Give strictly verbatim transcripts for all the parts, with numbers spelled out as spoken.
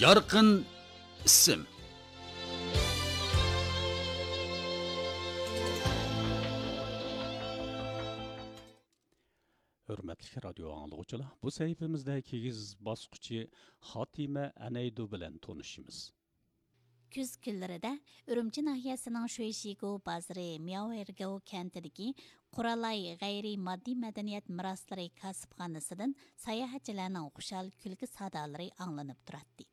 يارقىن ئىسىم. ھۆرمەتلىك رادىيو ئاڭلىغۇچىلار، بۇ سەھىپىمىزدە كىگىز باسقۇچى خاتىمە ئەنەيدۇ بىلەن تونۇشىمىز. كۈز كۈنلىرىدە ئۈرۈمچى ناھىيەسىنىڭ شۇيشىگو بازىرى مياۋئېرگاۋ كەنتىدىكى قۇرالاي غەيرىي ماددىي مەدەنىيەت مىراسلىرى كاسىپخانىسىدىن ساياھەتچىلەرنىڭ خۇشال كۈلكە سادالىرى ئاڭلىنىپ تۇراتتى.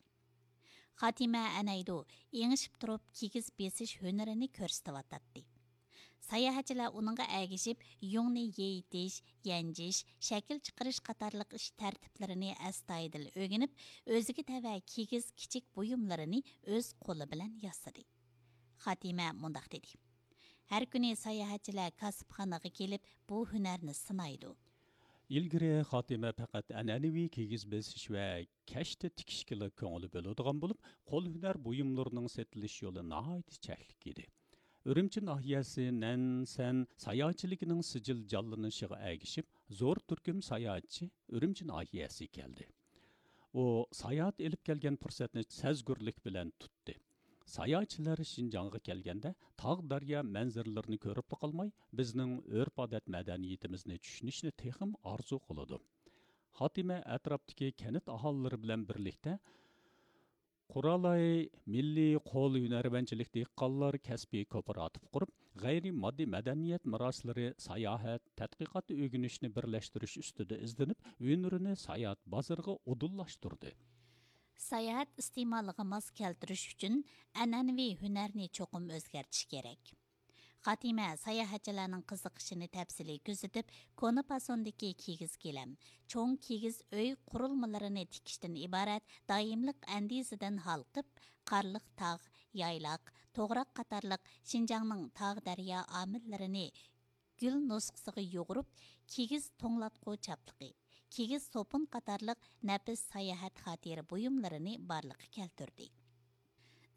خاتىمە ئەنەيدۇ ئېڭىشىپ تۇرۇپ كىگىز بېسىش ھۈنىرىنى كۆرسىتىۋاتاتتى. ساياھەتچىلەر ئۇنىڭغا ئەگىشىپ، يۇڭنى يېيىتىش، يەنجىش، شەكىل چىقىرىش قاتارلىق ئىش تەرتىپلىرىنى ئەستايىدىل ئۆگىنىپ، ئۆزىگە تەۋە كىگىز كىچىك بۇيۇملىرىنى ئۆز قولى بىلەن ياسىدى. خاتىمە مۇنداق دېدى: ھەر كۈنى ساياھەتچىلەر كاسىپخانىغا كېلىپ، بۇ ھۈنەرنى سىنايدۇ. ئىلگىرى خاتىمە پەقەت ئەنئەنىۋى كىگىز بېسىش ۋە كەشتە تىكىشكىلا كۆڭۈل بۆلىدىغان بولۇپ، قول ھۈنەر بۇيۇملىرىنىڭ سېتىلىش يولى ناھايىتى چەكلىك ئىدى. ئۈرۈمچى ناھىيەسى نەنسەن ساياھەتچىلىكىنىڭ سىجىل جانلىنىشىغا ئەگىشىپ، زور تۈركۈم ساياھەتچى ئۈرۈمچى ناھىيەسىگە كەلدى. ئۇ ساياھەت ئېلىپ كەلگەن پۇرسەتنى سەزگۈرلۈك بىلەن تۇتتى. ساياھەتچىلەر شىنجاڭغا كەلگەندە، تاغ دەريا مەنزىرىلىرىنى كۆرۈپلا قالماي، بىزنىڭ ئۆرپ-ئادەت مەدەنىيىتىمىزنى چۈشىنىشنى تېخىمۇ ئارزۇ قىلىدۇ. خاتىمە ئەتراپتىكى كەنت ئاھالىلىرى بىلەن بىرلىكتە قۇرالاي مىللىي قول ھۈنەرۋەنچىلىك دېھقانلار كەسپىي كوپىراتىپ قۇرۇپ، غەيرىي ماددىي مەدەنىيەت مىراسلىرى، ساياھەت، تەتقىقات، ئۆگىنىشنى بىرلەشتۈرۈش ئۈستىدە ئىزدىنىپ، ھۈنىرىنى ساياھەت بازىرىغا ئۇدۇللاشتۇردى. ساياھەت ئىستېمالىغا ماس كەلتۈرۈش ئۈچۈن ئەنئەنىۋى ھۈنەرنى چوقۇم ئۆزگەرتىش كېرەك. خاتىمە ساياھەتچىلەرنىڭ قىزىقىشىنى تەپسىلىي كۆزىتىپ، كونا پاسوندىكى كىگىز گىلەم، چوڭ كىگىز ئۆي قۇرۇلمىلىرىنى تىكىشتىن ئىبارەت دائىملىق ئەندىزىدىن ھالقىپ، قارلىق تاغ، يايلاق، توغراق قاتارلىق شىنجاڭنىڭ تاغ دەريا ئامىللىرىنى گۈل نۇسخىسىغا يۇغۇرۇپ، كىگىز توڭلاتقۇ چاپلىقى، كىگىز سوپۇن قاتارلىق نەپىس ساياھەت خاتىرە بۇيۇملىرىنى بارلىققا كەلتۈردى.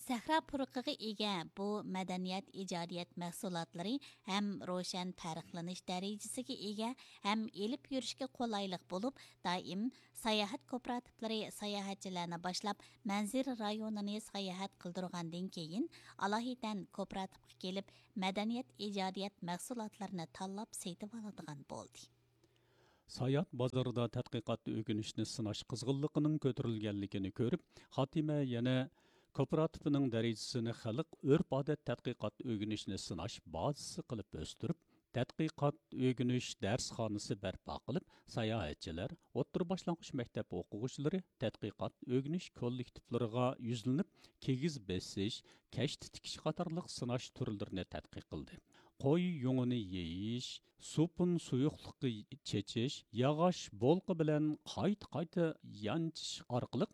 سەھرا پۇرىقىغا ئىگە بۇ مەدەنىيەت ئىجادىيەت مەھسۇلاتلىرى ھەم روشەن پەرقلىنىش دەرىجىسىگە ئىگە، ھەم ئېلىپ يۈرۈشكە قولايلىق بولۇپ، دائىم ساياھەت كوپىراتىپلىرى ساياھەتچىلەرنى باشلاپ، مەنزىرە رايونىنى ساياھەت قىلدۇرغاندىن كېيىن، ئالاھىدەن كوپىراتىپقا كېلىپ، مەدەنىيەت ئىجادىيەت مەھسۇلاتلىرىنى تاللاپ سېتىۋالىدىغان بولدى. ساياھەت بازىرىدا تەتقىقات ئۆگىنىشنى سىناش قىزغىنلىقىنىڭ كۆتۈرۈلگەنلىكىنى كۆرۈپ، خاتىمە يەنە كوپىراتىپىنىڭ دەرىجىسىنى خەلق ئۆرپ-ئادەت تەتقىقات ئۆگىنىشنى سىناش بازىسى قىلىپ ئۆستۈرۈپ، تەتقىقات ئۆگىنىش دەرسخانىسى بەرپا قىلىپ، ساياھەتچىلەر، ئوتتۇرا باشلانغۇچ مەكتەپ ئوقۇغۇچىلىرى تەتقىقات ئۆگىنىش كوللېكتىپلىرىغا يۈزلىنىپ، كىگىز بېسىش، كەشتە تىكىش قاتارلىق سىناش تۈرلىرىنى تەتقىق قىلدى. قوي يۇڭىنى يېيىش، سوپۇن سۇيۇقلۇقى چېچىش، ياغاچ بولقا بىلەن قايتا-قايتا يانچىش ئارقىلىق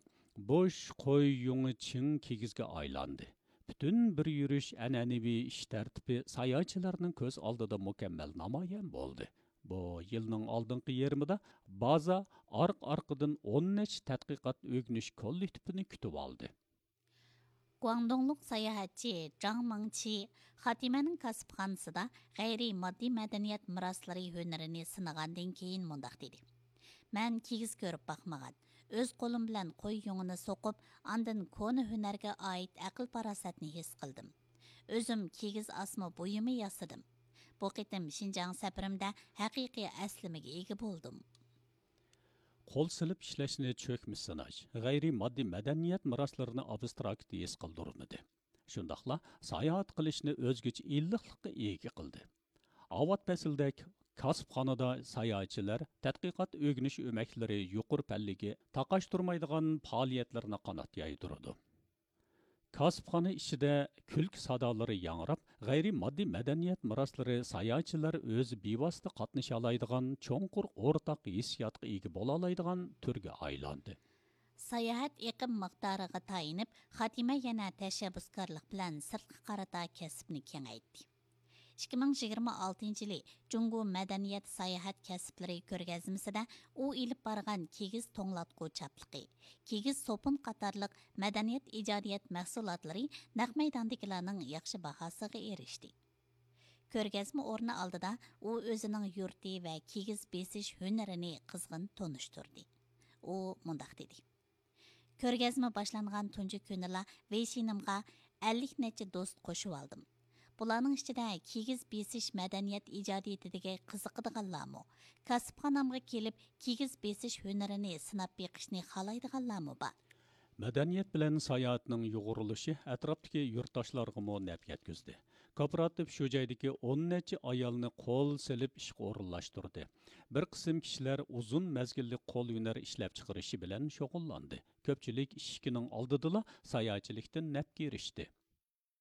بوش قوي يۇڭى چىڭ كىگىزگە ئايلاندى. پۈتۈن بىر يۈرۈش ئەنئەنىۋى ئىش تەرتىپى ساياھەتچىلەرنىڭ كۆز ئالدىدا مۇكەممەل نامايان بولدى. بۇ يىلنىڭ ئالدىنقى يېرىمىدا بازا ئارقا-ئارقىدىن ئون نەچچە تەتقىقات ئۆگىنىش كوللېكتىپىنى كۈتۈۋالدى. گۇاڭدۇڭلۇق ساياھەتچى جاڭ مىڭچى خاتىمەنىڭ كاسىپخانىسىدا غەيرىي ماددىي مەدەنىيەت مىراسلىرى ھۈنىرىنى سىنىغاندىن كېيىن مۇنداق دېدى: مەن كىگىز كۆرۈپ باقمىغان، ئۆز قولۇم بىلەن قوي يۇڭىنى سوقۇپ، ئاندىن كونا ھۈنەرگە ئائىت ئەقىل-پاراسەتنى ھېس قىلدىم. ئۆزۈم كىگىز ئاسما بۇيۇمى ياسىدىم. بۇ قېتىم شىنجاڭ سەپىرىمدە ھەقىقىي ئەسلىمىگە ئىگە بولدۇم. قول سېلىپ ئىشلەشنى چۆكمە سىناش، غەيرىي ماددىي مەدەنىيەت مىراسلىرىنى ئابستراكت ھېس قىلدۇرمىدى. شۇنداقلا ساياھەت قىلىشنى ئۆزگىچە ئىللىقلىققا ئىگە قىلدى. ئاۋات پەسىلدە كاسىپخانىدا ساياھەتچىلەر تەتقىقات ئۆگىنىش ئۆمەكلىرى يۇقىرى پەللىگە تاقاشتۇرمايدىغان پائالىيەتلىرىنى قانات يايدۇرىدۇ. كاسىپخانا ئىچىدە كۈلكە سادالىرى ياڭراپ، غەيرىي ماددىي مەدەنىيەت مىراسلىرى ساياھەتچىلەر ئۆزى بىۋاسىتە قاتنىشالايدىغان چوڭقۇر ئورتاق ھېسسىياتقا ئىگە بولالايدىغان تۈرگە ئايلاندى. ساياھەت ئېقىم مىقدارىغا تايىنىپ، خاتىمە يەنە تەشەببۇسكارلىق بىلەن سىرتقا قارىتا كەسىپنى كېڭەيتتى. ئىككى مىڭ يىگىرمە ئالتىنچى يىلى جۇڭگو مەدەنىيەت ساياھەت كەسىپلىرى كۆرگەزمىسىدە ئۇ ئېلىپ بارغان كىگىز توڭلاتقۇ چاپلىقى، كىگىز سوپۇن قاتارلىق مەدەنىيەت ئىجادىيەت مەھسۇلاتلىرى نەق مەيداندىكىلەرنىڭ ياخشى باھاسىغا ئېرىشتى. كۆرگەزمە ئورنى ئالدىدا ئۇ ئۆزىنىڭ يۇرتى ۋە كىگىز بېسىش ھۈنىرىنى قىزغىن تونۇشتۇردى. ئۇ مۇنداق دېدى: كۆرگەزمە باشلانغان تۇنجى كۈنىلا ۋېيشىنىمغا ئەللىك نەچچە دوست قوشۇۋالدىم. بۇلارنىڭ ئىچىدە كىگىز بېسىش مەدەنىيەت ئىجادىيىتىدىگە قىزىقىدىغانلارمۇ، كاسىپخانامغا كېلىپ كىگىز بېسىش ھۈنىرىنى سىناپ بېقىشنى خالايدىغانلارمۇ بار. مەدەنىيەت بىلەن ساياھەتنىڭ يۇغۇرۇلۇشى ئەتراپتىكى يۇرتداشلارغىمۇ نەپ يەتكۈزدى. كوپىراتىپ شۇ جايدىكى ئون نەچچە ئايالنى قول سېلىپ ئىشقا ئورۇنلاشتۇردى. بىر قىسىم كىشىلەر ئۇزۇن مەزگىللىك قول ھۈنەر ئىشلەپچىقىرىشى بىلەن شۇغۇللاندى. كۆپچىلىك ئىشىكىنىڭ ئالدىدىلا ساياھەتچىلىكتىن نەپكە ئېرىشتى.